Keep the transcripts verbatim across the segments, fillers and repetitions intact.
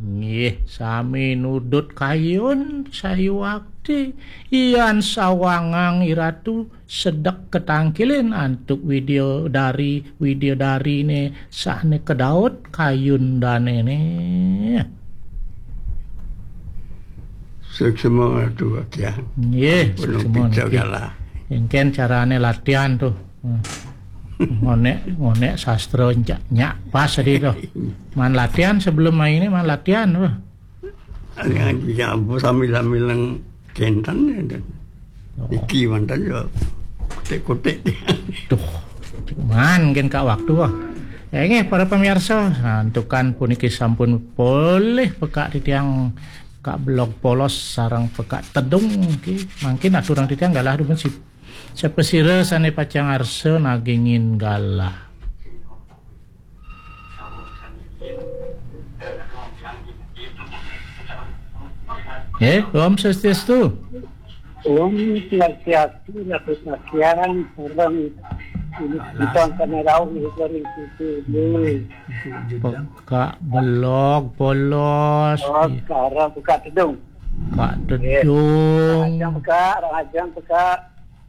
Nggih, sami nudut kayun sayuwakti, yan sawangang iratu sedek katangkilin antuk widya dari, widya darine sane kedaut kayun danene. Suksma tu, Akyang. Nggih, suksma niki. Engken carane latihan tuh. Hmm. Ngonek, ngonek sastra nyak, nyak pas tadi tuh. Man latihan sebelum main ini, man latihan tuh. Yang, yang sambil-sambil yang kentan ya, dan Oh. Iki mantan ya kutik-kutik. Tuh, man, mungkin kak waktu, ah. Ya, nggih, para pemirsa, nah, antukan puniki sampun polih pekak titiang Kak Belog Polos sareng pekak tedung, nggih. Mangkin aturang titiang galah dumun si-, siapa sira sane pacang arsa nagingin galah. Eh, Om Swastiastu. Om Swastiastu, Ratu Sakyang, sareng ini kita akan rauh dari situ. Pekak Belog Polos. Oh, sekarang buka tedung. Kak Tedung. Rajang pekak, rajang pekak.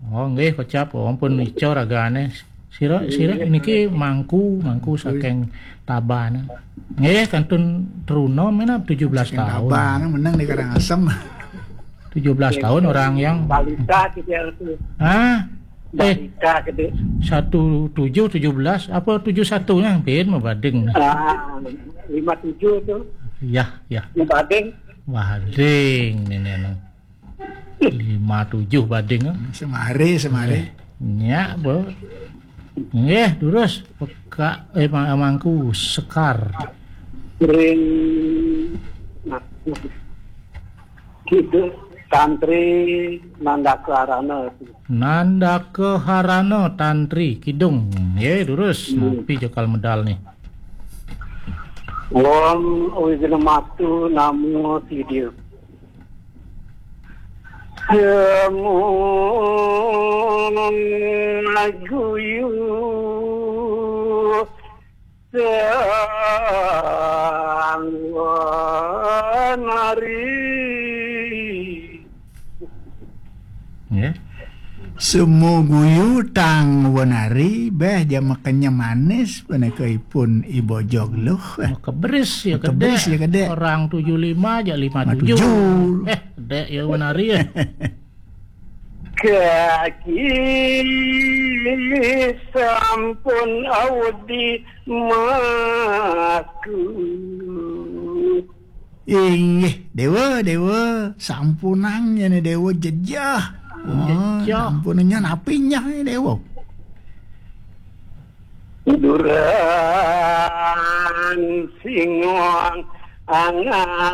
Oh, nggih, kocap. Oh, ampun, ica ragane. Sira, sira niki mangku, mangku saking Tabanan. Nggih, kantun truna menap tujuh belas tahun. Tabanan menang di Karangasem. Tujuh belas tahun orang yang balita gitu ya, itu. Ah, eh, balita gede. Satu tujuh, tujuh belas, apa tujuh satu nya? Ben mabading. Ah, lima tujuh tuh. Ya, ya. Mabading. Bading ini, anu. Lima tujuh bading, eh. Semare, semare. Nyak, Bu. Nggih, durus. Pekak, eh, ma-, mangku sekar. Ring, nah, gitu. Tantri Nandaka Harana. Nandaka Harana Tantri Kidung. Nggih, durus. Hmm. Napi jekal medal nih? Om Wignamatu Namo Sidil. Semu guyu tang wenari. Nggih. Semu guyu tang wenari, beh, ja makannya manis, punika ipun I Bojog Luh. Makeberis ya, makeberis kedek. Ya, kedek. Orang tujuh lima aja lima tujuh. Lima tujuh. Eh, kedek ya wenari ya. Kaki sampun audi maku. Inggih, Dewa, Dewa, sampunang nyene Dewa jejah. Oh, jejah. Sampunang nyene api nyah nyene Dewa. Duran singong angan